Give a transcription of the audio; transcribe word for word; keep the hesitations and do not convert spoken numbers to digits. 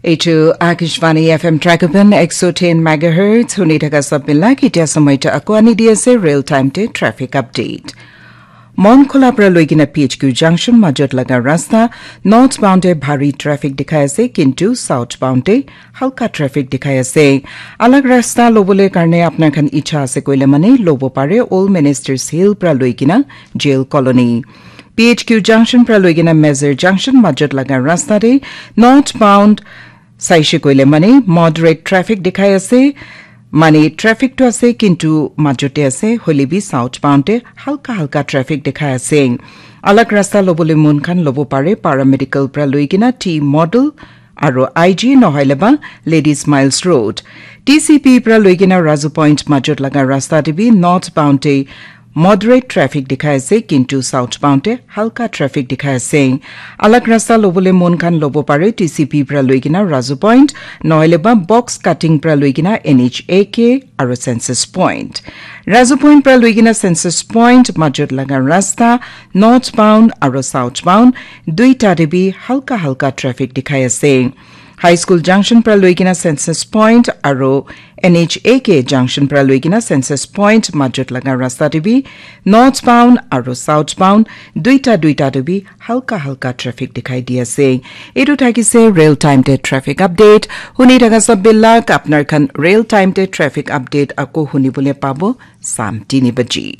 Eitu Akashvani F M Trakapan ek so ten megahertz, huni thaka sab mila ki tia samay ta ako ani di ase real time te traffic update. Mon khola pra loikena P H Q junction majot laga rasta northbound te bhari traffic dikhai ase, kintu southbound te halka traffic dikhai ase. Alag rasta lobole karne apnar khan icha ase koile mane lobo pare Old Ministers Hill pra loikena Jail Colony. P H Q junction pra loikena Mezir junction majot laga rasta te northbound saishe koile mane moderate traffic dikhai ase. Mane traffic to ase, kintu majote ase, hoile bi southbound te halka halka traffic dikhai ase. Alag rasta lobole mon khan lobo pare Paramedical pra loikena T Model aro I G nohoile ba Ladies Miles Road. T C P pra loikena Razu Point majot laga rasta te bi northbound te moderate traffic dikhai ase, kintu southbound te halka traffic dikhai ase. Alag rasta lobole mon khan lobo pare T C P pra loikena Razu Point, nohoile ba box cutting pra loikena N H A K aro Census Point. Razu Point pra loikena Census Point majot laga rasta northbound aro southbound duita te bi halka halka traffic dikhai ase. High School junction pra loikena Census Point aro N H A K junction pra loikena Census Point majot laga rasta te bi northbound aro southbound duita duita te bi halka halka traffic dikhai di ase. Etu thakise real time te traffic update. Huni thaka sab bilak apnar khan real time te traffic update ako huni bole pabo sam tini baji.